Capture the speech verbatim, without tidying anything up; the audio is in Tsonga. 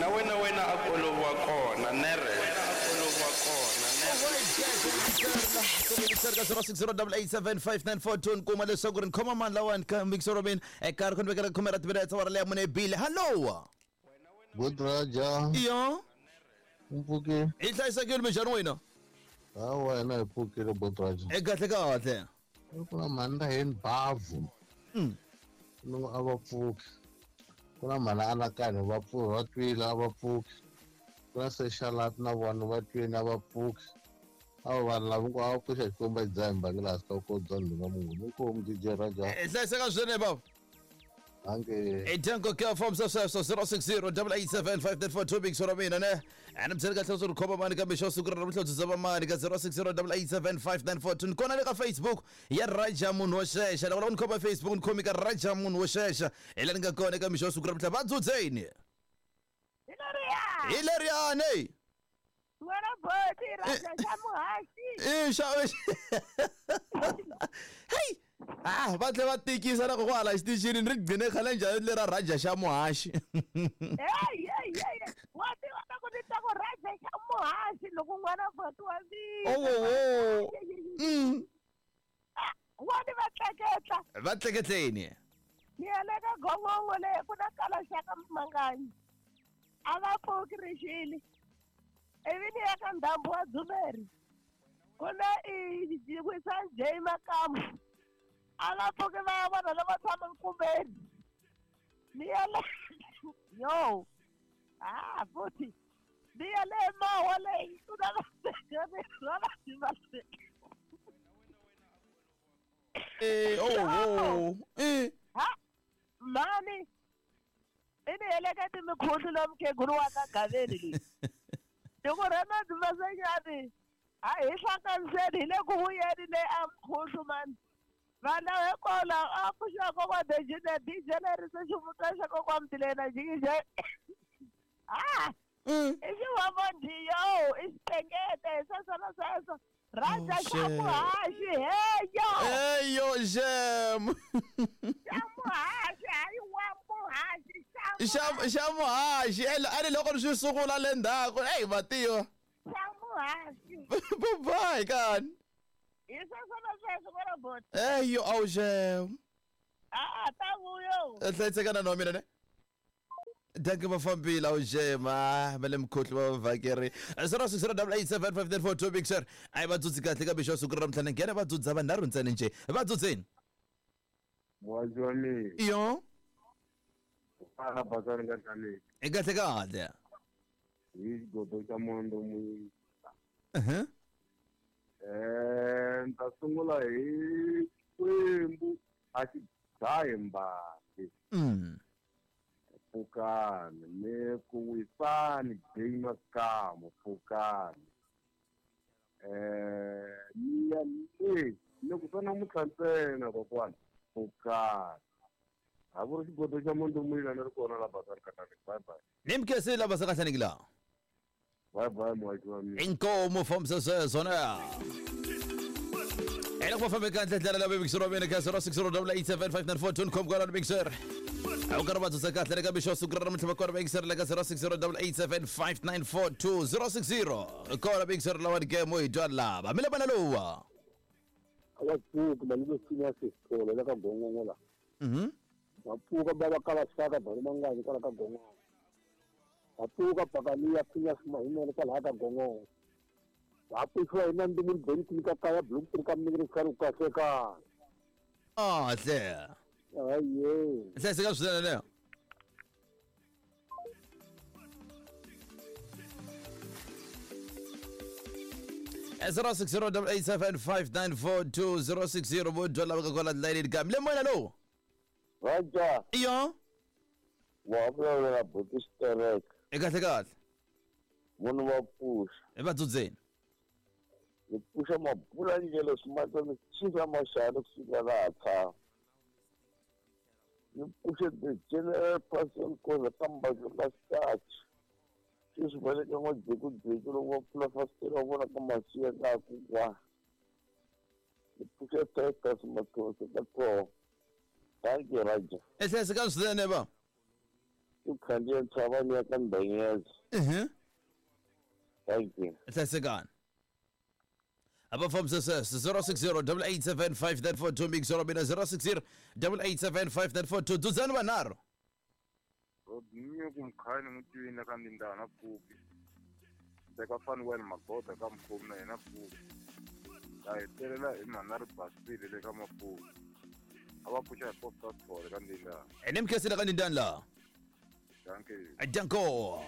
Wena wena wena a ku oloviwa kona nere wena a ku oloviwa kona nere zero six zero eight seven five nine four two nkuma leswaku ri nkhoma mani lawani ka mixer robin eka ri khonivekela khome ra timinetse wa ra leya mune bile hallo Good Raja iyo mpfuke hi hlayisekile minjhani wena ha wena hi pfukile Good Raja e kahle kahle ku na mhani ra heni bavhu no a va pfuki ku na mhani anakanyo va pfuki va twile a va pfuki ku na sexalat na vona va twile a va pfuki avo vanhu lava hinkwavo a va pfuxa xikwembu a xi dzaha mbangela hansi ka vukosi bya ndhuna munhu inkomu D J Raja hi hlayiseka swinene bava ange Edenko ke form sweswo zero six zero eight seven five nine four two big sora mina ne ana byela kahle swo khoma mani kambe xo siku ra namuntlha byi zava mani ka zero six zero eight seven five nine four two kona le ka Facebook ya Raja munhu wo xexa loko ni khoma Facebook ni khomi ka Raja munhu wo xexa hi la ni nga kona eka mixo siku ra namuntlha va dzudzeni Hilariya hi leriyani wena boti Raja xa muhaxi i xa hey ah va tlhe va tikisa na kokwala xitichini ni ri gcine khale njhani lera Raja xa muhaxi hey hey hey wa tiva na ku ni ta ku Raja xa muhaxi loko n'wana boti wa mina oh oh mm wa ni va tleketla va tleketleni ni ya le ka gongongo leyi ku na kala xa ka manganyi a va pfuki rixile ivi ni ya ka ndhambu wa Dzumeri ku na i wisa J Makamu a va pfuki va ya vona lava tshama nkumbeni ni ya le yo ah futhi ni ya le mawa leyi ku na va eh oh oh eh ha mani i ni heleketi mikhulu lomu mukhegulu wa ka Gaveni leyi loko Renard Masenyani a hi hlanganiseni hi le ku vuyeni le a mkhuhlu mani vana hinkwavo a pfuxiwa kokwa Dejine D J lerisa xivutwa xa kokwa Mtilena jikije ah i xivavondiyo i xitengete hi sweswo na sweswo Raja xa muhaxi heyo heyo xem xa muhaxi hayi wa muhaxi xa xa muhaxi a ni loko ni swi sungula le ndzhaku eyi matiwa xa muhaxi bye bye kani hi sweswo na sweswo vona boti eyo awu xem a ta vuyo hlayisekana na wa mina ne danke va fambile awu xem a va le mukhohli va vhakeri zero six zero eight seven five nine four two big sir a yi va dzudzi kahle kambe xo siku ra namuntlha ni nghena va dzudza vanharhu ntsena njhe va dzudzeni muhaxi wa mina iyo a basani ka hlaleki i kahle kahle hi xigodo xa mondo muyisa uh-huh. eh ni ta sungula hi Xikwembu a xi dzahi mbati mm. pfukani ni ku wisani J Makamu pfukani eh ni ya le ni ku swa namuntlha ntsena kokwana pfukani a ku ri xigodo xa mondo muyila ni ri kona la basani kahleni bye bye ni mkesile la basani kahleni la bye bye muhaxi wa mina inkomo from sweswo na ela ku fambe kahle ndlela la big sir wa mina ka zero six zero eight seven five nine four two com kwala big sir a ku ri va dzudza kahle eka mixo siku ra namuntlha va kona big sir le ka zero six zero eight seven five nine four two zero six zero kona big sir lawa game hi twa lava mi le vana lowa a va pfuki malume sinya sisitolo le ka gongongo la mhm va pfuka va va kala saka bari manganyi kwala ka gongongo va pfuka pakaliya phinya simahimele kwalaha ka gongongo va pfuxiwa hi nandimuni benkini ka kaya bloemfontein ka miniri karhi ku kahle kaya kahle aye hlayiseka swinene leyo zero six zero eight seven five nine four two zero six zero vo dya laveka kwala layinini kambe le moyena lowu Raja iyo wa vulavula boti xitereka i kahle kahle munhu va pfuxa hi va dzudzeni ni pfuxa mabula ndlela swimatana xisa maxana kusuka laha tshama ni pfuxe the general person koza ka mbadlo ka starch sweswi va le ka n'wadzekudzeki loko va pfula fasitere va vona ka masiya ka ku kwa ni pfuxe Titus Mathonsi ka tlhoho thank you Raja i hlayiseka swinene va ku khandziya ntshava ni ya ka Mbenyeza. Mhm. Thank you. Hlayisekani. A va fambisa sweswo zero six zero double eight seven five nine four two mix wa mina zero six zero double eight seven five nine four two dzudzani vanharhu. Rodney ku mkhani n'wi twini ka ndindana pfuki teka Fanuel Magoda ka mukhomi na yena pfuki ta hetelela hi mhana ri basile le ka mapuku a va pfuxa hi posta score ka ndindana Ene mi khensile ka ndindani laha. danke Danko.